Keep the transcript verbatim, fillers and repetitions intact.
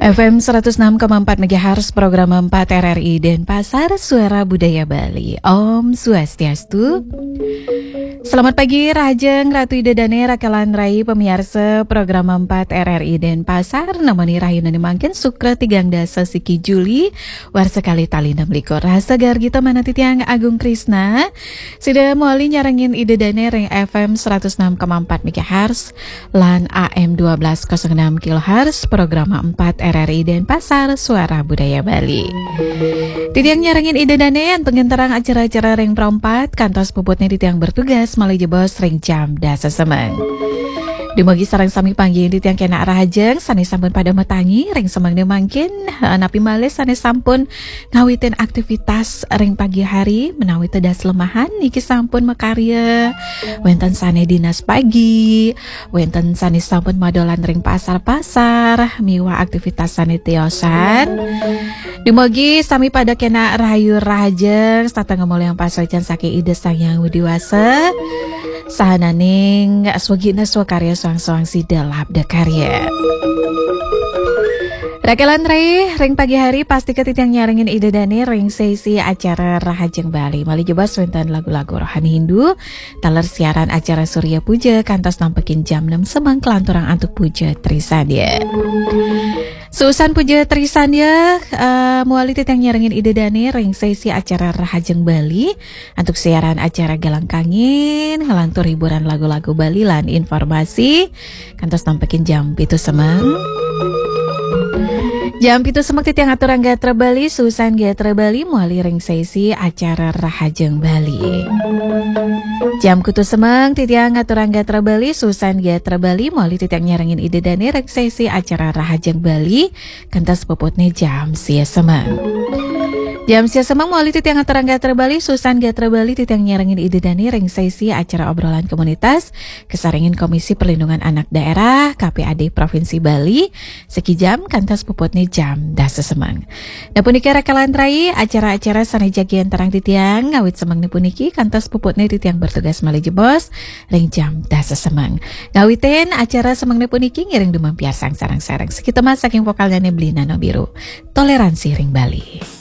F M seratus enam koma empat megahertz, program empat R R I Denpasar, Suara Budaya Bali. Om Swastiastu. Selamat pagi, rahajeng Ratu Ida Dane, rakelan rai pamiarsa program empat R R I Denpasar, nemoni rahina mangkin Sukra tigang dasa siki Juli, warsa kalih tali enam likur. Rahasa gargita manah titiang Agung Krisna, sida mawali nyarengin Ida Dane ring F M seratus enam koma empat megahertz, lan A M dua belas kosong enam kilohertz, program empat R R I Denpasar, Suara Budaya Bali. Titiang nyarengin Ida Dane, antuk ngenterang acara-acara ring perempat, kantos puputne titiang bertugas malih jebos ring jam dasa semeng. Dumugi sareng sami panggih titiang kenak rahajeng, sane sampun pada matangi ring semengne mangkin, eh, napi malih sane sampun ngawitin aktivitas ring pagi hari, menawi tedas lemahan niki sampun makarya, wenten sane dinas pagi, wenten sane sampun madolan ring pasar-pasar, miwah aktivitas sane tiosan. Dumugi sami pada kenak rahayu rahajeng, setata ngamolihang pasuecan saking Ida Sang Hyang Widi Wasa, sahananing swagina swakarya, soang-soang sida labda karya. Rakelan rai, ring pagi hari pastika titiang nyarengin Ida Dane ring sesi acara Rahajeng Bali. Malih jebos wenten lagu-lagu rohani Hindu, taler siaran acara Surya Puja kantos nampekin jam enam semeng kalanturang antuk Puja Trisandya. Suusan Puja Trisandya, eh, mawali titiang nyarengin Ida Dane ring sesi acara Rahajeng Bali, antuk siaran acara Galang Kangin, ngelantur hiburan lagu-lagu Bali lan informasi, kantos nampekin jam pitu semeng. Jam pitu semeng titiang aturang gatra Bali, suusan gatra Bali mawali ring sesi acara Rahajeng Bali. Jam kutus semeng titiang aturang gatra Bali, suusan gatra Bali mawali titiang nyarengin Ida Dane ring sesi acara Rahajeng Bali, kantos puputne jam sia semeng. Jam sia semeng mawali titiang aturang gatra Bali, suusan gatra Bali titiang nyarengin Ida Dane ring sesi acara obrolan komunitas, kasarengin Komisi Perlindungan Anak Daerah, K P A D Provinsi Bali, siki jam kantos puputne jam dasa semeng. Nah, punika rakelan rai, acara-acara sane jagi enterang titiang, ngawit semengne puniki kantos puputne titiang bertugas malih jebos ring jam dasa semeng. Ngawitin acara semengne puniki ngiring dumun piarsang sareng-sareng. Sakita mas saking vokalnyane Beli Nano Biru, Toleransi ring Bali.